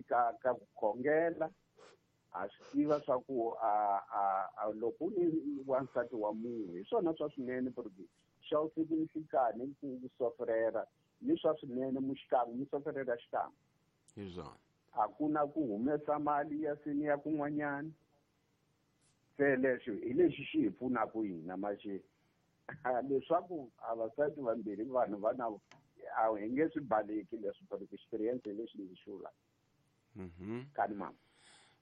ka ku khongela ha swi tiva swa ku a loko u ni wansati wa munhu hi swona swa swinene porque xa usiku ni nhlikani ku sofrera ni swa swinene muxikan'we mi sofrera xikan'we hi swona a ku na ku humesa mali ya sini ya kun'wanyana se leswi hi lexi xi hi pfunaka hina maxi leswaku avasati vambirhi vanhu va na a hi nge swi baleki leswi but experience hi lexi ndzi xi vulaka. Kani mama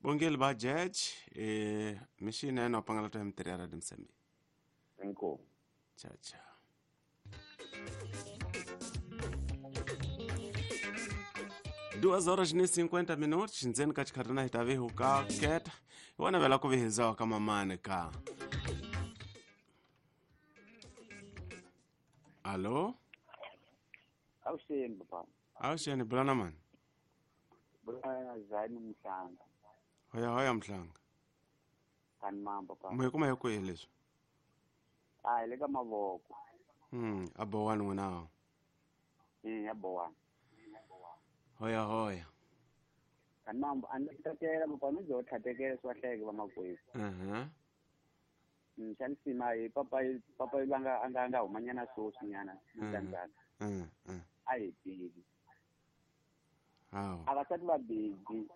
bongeli ba judge mixini ya nopangala ta mtirhi ya Radio Msambiki. Inkomu. Ciao ciao. 2h50 ndzeni ka xikhathana hi ta vihu ka keta hi wona vela ku vihizawa ka mamani ka. Allo? Awuxeni papa. Awuxeni bulana mani. Bulana Zani Mhlanga. Hoya hoya Mhlanga. Kani mama papa. Muhi kuma hi kwihi leswi? A hi le ka mavoko. A bowani n'wina. Ya bowani. Hoya hoya. Kani mama a ndzi tsakela papa ni byo tlhatekela swi vahleke va makwerhu. Xa nsima hi papa papa va nga nga humanyana sweswinyana mutsandzana. A hi tivi. Hawu. Avasati va busy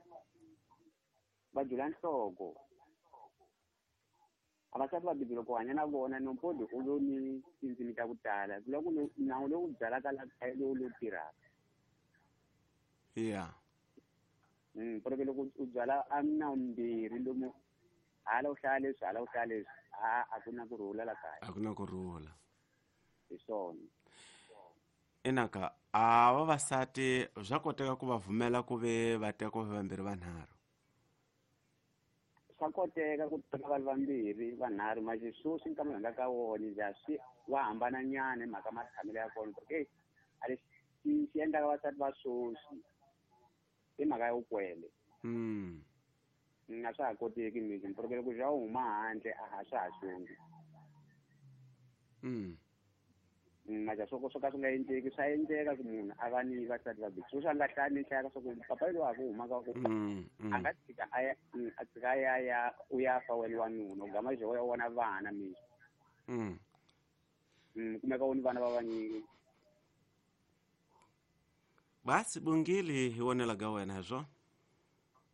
va jula nhloko. Avasati va busy loko hanya na vona nompodi u lo ni tindzimi ta ku tala loko nawu lowu byalaka la lowu lowu tirhaka. Yeah. Porque loko u byala a nawu mbirhi lomu hala u hlaya leswi hala u hlaya leswi a ku na ku rhula la kaya. A ku na ku rhula. Hi swona. Enaka a vavasati swa koteka ku va vumela ku ve va teka vambirhi vanharhu. Swa koteka ku teka vanhu vambirhi vanharhu manje sweswi nkama hi nga ka wona ja swi wa hambana nyana hi mhaka matshamelo ya kona porque a lexi xi endlaka vasati va sweswi i mhaka ya vukwele. A swa ha koteki mixi porque loko bya huma handle a swa ha xongi. Maja swo ka swi nga endleki swa endleka ku munhu a va ni vasati vambirhi sweswi a nga hlaya ni hlaya swa ku papa loyi a ku humaka ku a nga tshika a ya a tshika ya ya u ya fa wena wanuna u gama byo ya vona vana mixi. Kumeka u ni vana va vanyingi. Basi bungili hi wonela ga wena hi swona.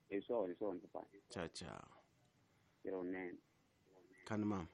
Hi swona hi swona papa. Ciao ciao. Tirhonene. Kani mama.